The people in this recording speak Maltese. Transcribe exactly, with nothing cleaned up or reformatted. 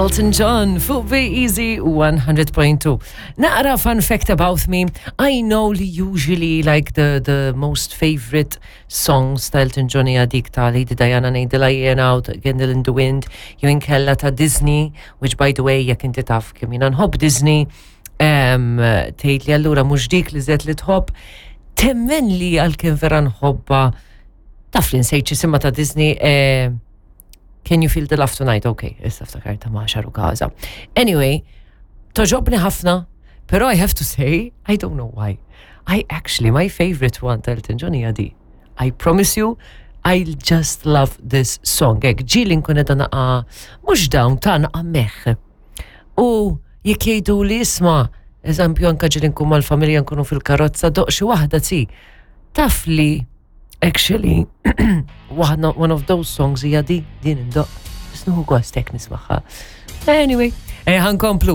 Elton John fuq Be Easy one hundred point two. Naqra fun fact about me. I know li usually like the, the most favorite songs ta' Elton John hija dik ta' Lady Diana, ngħidilha jiena, u Candle in the Wind, jew inkella ta' Disney, which, by the way, jekk inti taf kemm jiena nħobb Disney, um, tgħid li allura mhux dik li żed li tħobb, temmen li għalkemm vera nħobbha, taf li nsejt x'jisimha ta' Disney, eh, Can You Feel the Love Tonight? Ok, issa ftakarta ma' xaru kaza. Anyway, togħġobni ħafna, pero I have to say, I don't know why. I actually, my favorite one ta' Elton John hija di. I promise you, I just love this song. Ek, ġieli nkun edha naqa, mhux down, ta' naqa meħ. U jekk jgħidu li isma', eżempju, anka ġieli nkun mal-familja, nkunu fil-karozza, doqq xi waħda ti. Taf li actually one one of those songs hija di, din indoqq. Nieħu gost hekk nismagħha. Anyway, eh, ħa nkomplu.